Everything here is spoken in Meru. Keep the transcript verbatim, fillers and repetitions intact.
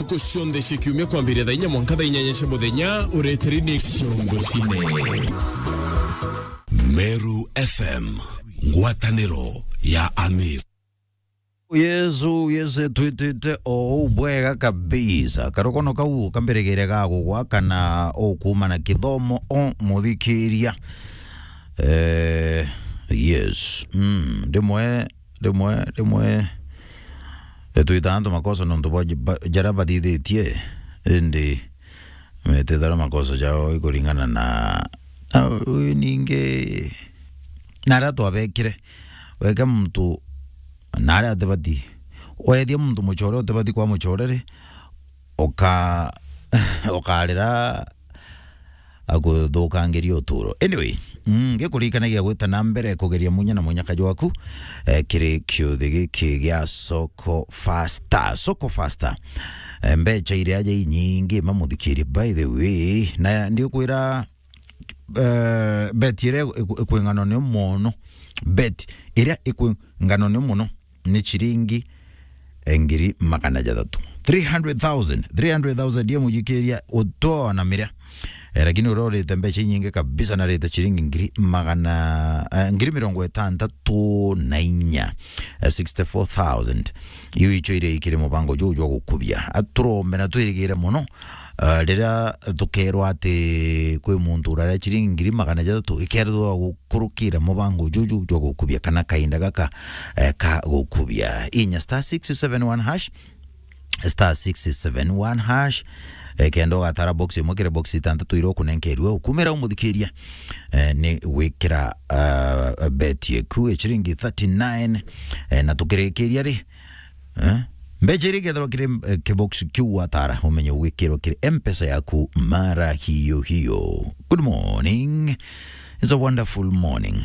Ntuku cionthe cia kiumia kwambiria thaa inya mwanka thaa inyanya cia muthenya, ureteri ni Ciongo Cine. Meru F M, ngwataniro ya Ameru. Yesu, Yesu, twitite o uu bwega kabisa. Karukono kau kambirigire ga gugwa kana ukuuma na kithomo o muthikiria. Eh, yes. Mm, rimwe, rimwe, rimwe, eh, twitaga antu makosa nontu bwa ba-, jaria bathithitie, indi metithara makosa jao ikuringana na, na, ningi, na aria twabekire. Weke muntu na aria atibati. Wethia muntu mucore utibati kwa mucore ri, uka-, ukarira akuthukangiria uturo. Anyway, mm, ngikurikanagia gwita na mbere kugeria munya na munyaka jwaku, eh, kiri kiuthi giki gia Soko Faster. Soko Faster. Eh, mbecha iria aja inyingi, mamuthikirie, by the way. Na ndiukwira, eh, bet iria iku-, ikwingano ni mono. Bet iria ikwingano ni mono ni ciringi, eh, ngiri magana jathatu. Three hundred thousand, three hundred thousand ya mujikiria utoa na miria. Eh, lakini uria urite mbecha inyingi kabisa na arite ciringi ngiri magana, eh, ngiri mirongo itantatu na inya, eh, sixty-four thousand. Iu icio iria ikiri mubango juu jwa gukubia. Aturombe na twirigire mono, eh, riria tukerwa ati kwi muntu uraria ciringi ngiri magana jathatu, ikerwa gukurukira mubango juju jwa gukubia kana kainda gaka, eh, ka gukubia. Inya star six seven one hash, star six seven one hash, eh, kenda ugatara box imwe kiri box itantatu iria ukunenkerwe, ukumira umuthikiria, eh, ni gwikira, ah, bet yeku ya ciringi thirty-nine, eh, na tukirikiria ri, eh, mbecha iria ikethirwa kiri, eh, kibox kiu watara, umenye ugwikirwa kiri M-Pesa yaku mara hiyo hiyo. Good morning. It's a wonderful morning.